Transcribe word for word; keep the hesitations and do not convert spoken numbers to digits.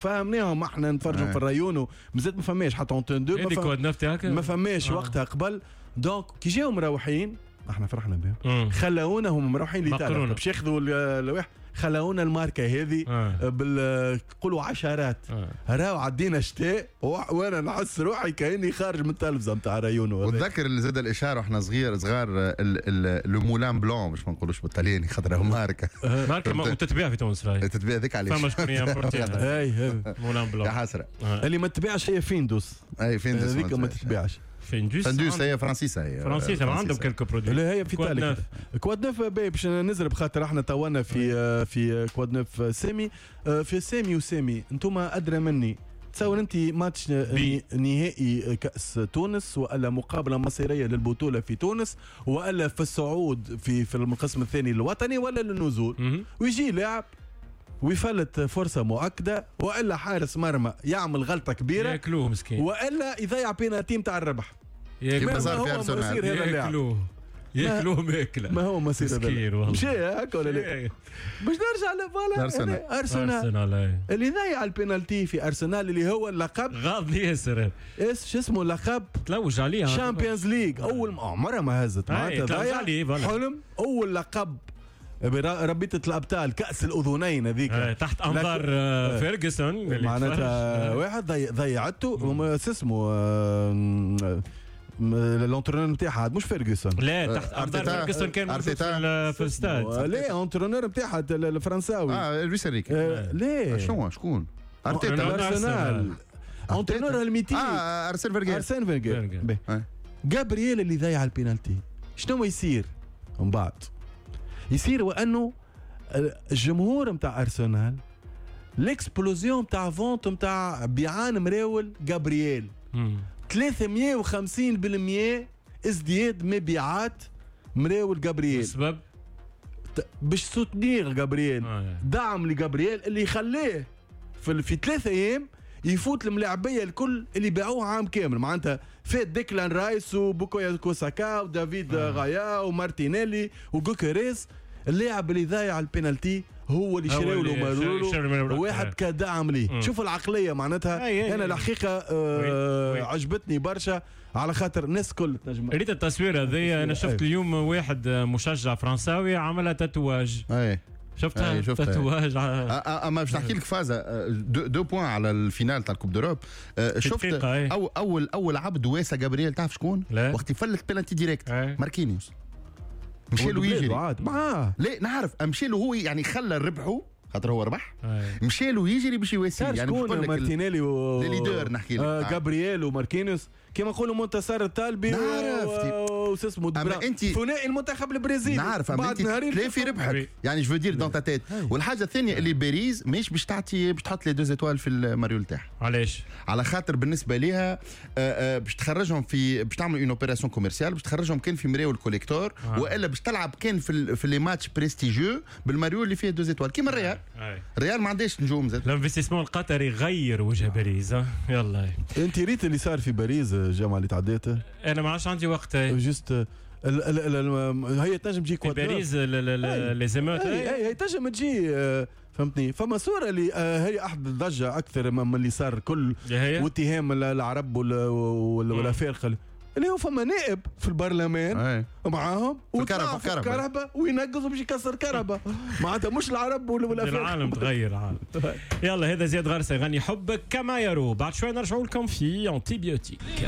فهمناهم احنا نتفرجوا في الرايونو، مازالت ما فماش حتى Antenne deux، ما, فم... ما فماش آه. وقتها قبل. donc كي جاو مروحين احنا فرحنا بهم، خلونا هم مروحين لإيطاليا باش ياخذوا الواحد، خلونا الماركة هذه آه. بال قولوا عشرات آه. راهو عدينا شتاء وانا نحس روحي كاني خارج من التلفزة نتاع رايونو. وتذكر اللي زاد الاشارة واحنا صغير صغار le Moulin blanc، باش ما نقولوش بالطلياني خاطر ماركة ماركة وتتباع في تونس راهي تتباع ذيك علاش فما شكون ي importer اي Moulin blanc يا حسرة. اللي ما تبيعش هي فيندوس، اي فيندوس هذيك ما تتباعش. فيندوس فيندوس هي فرنسيسة، هي فرنسيسة ما عندهم quelques produits. لا هي في ايطاليا. quoi de neuf باش نزرب خاطر احنا تونا في في quoi de neuf سامي، في سامي وسامي انتم ادرى مني. تصور انت ماتش نهائي كاس تونس والا مقابله مصيرية للبطولة في تونس والا في الصعود في في القسم الثاني الوطني ولا للنزول، ويجي لاعب ويفلت فرصة مؤكدة والا حارس مرمى يعمل غلطه كبيرة ياكلوه مسكين، والا يضيع بينالتي نتاع الربح. كيما صار في ارسنال ياكلوه ياكلوه ماكله. ما هو مصير هذا مشي هكا ولا لا؟ باش نرجع ل voilà ارسنال اللي ضيع البينالتي في ارسنال اللي هو اللقب غاضني ياسر، ايش شو اسمه اللقب تلوج عليه Champions League، اول عمرها ما هزت معناتها ضيع حلم اول لقب رابطة الأبطال كأس الأذنين هذيك تحت أنظار فيرجسون معناتها واحد ضيعته اسمه l'entraîneur نتاعها مش فيرجسون، لا تحت أنظار فيرجسون كان موجود في الاستاد. لا entraîneur نتاعها الفرنساوي اه لويس انريكي. لا شنو شكون ارتيتا ارسنال entraîneur ال mythique اه ارسن فيرجر ارسن فيرجر جابرييل اللي ضيع البينالتي. شنو يصير من بعد؟ يصير وانه الجمهور نتاع ارسنال l'explosion نتاع ventes نتاع بيعان مراول جابرييل ثلاثمية وخمسين بالمية ازدياد مبيعات مراول جابرييل. السبب باش soutenir جابرييل، آه. دعم لجابرييل اللي يخليه في في ثلاثة ايام يفوت الملاعبيه الكل اللي باعوه عام كامل. معناتها فات ديكلان رايس وبوكايو ساكا ودافيد آه. غايا ومارتينيلي وجوكيريز. اللاعب اللي ضايع البينالتي هو اللي شراو له مارولو واحد كدعم ليه. شوف العقلية معناتها. أي أي انا الحقيقة آه oui. عجبتني برشا على خاطر الناس كل تنجم. ريت التصوير هذه، انا شفت اليوم واحد مشجع فرنساوي عملها tatouage. اي شفتها tatouage. اما باش نحكي لك فازة deux points على ال finale تاع ال Coupe d'Europe. شفت أو اول اول عبد واسا جابرييل تعرف شكون؟ وقت يفلت penalty direct ماركينيوس مشى له يجري معاه. لا نعرف مشى له هو يعني خلى ربحه خاطر هو ربح، مشى له يجري باش يواسي. يعني شكون مارتينيلي و leader نحكي لك آه جابرييل وماركينيوس كما نقولوا منتصر الطالبي و اسمه ثنائي المنتخب البرازيلي. نعرف اما انت لا في ربحك يعني je veux dire dans ta tête. والحاجة الثانية اللي باريس ماهيش باش تعطي باش تحط les deux étoiles في الماريول تاعها. علاش؟ على خاطر بالنسبة ليها باش تخرجهم في باش تعمل une opération commerciale باش تخرجهم كان في مريول collector آه. والا باش تلعب كان في في les matchs prestigieux بالماريول اللي فيه deux étoiles كيما الريال. الريال ما عندهاش نجوم زاد. ال investissement القطري غير وجه باريس. يلا انت ريت اللي صار في باريس الجامعة اللي تعديت؟ انا ما عادش عندي وقت juste ال ال ال هي تنجم تجي في باريس les émeutes. اي هي تنجم تجي فهمتني. فما صوره اللي هي احد الضجة اكثر من اللي صار كل واتهام العرب والافارقه اللي هو فما نائب في البرلمان معاهم وطلع في الكرهبة وينقص باش يكسر كرهبة. معناتها مش العرب ولا الافارقة. العالم تغير العالم. يلا هذا زياد غرسه يغني حبك كما يرو. بعد شوي نرجعوا لكم في antibiotique.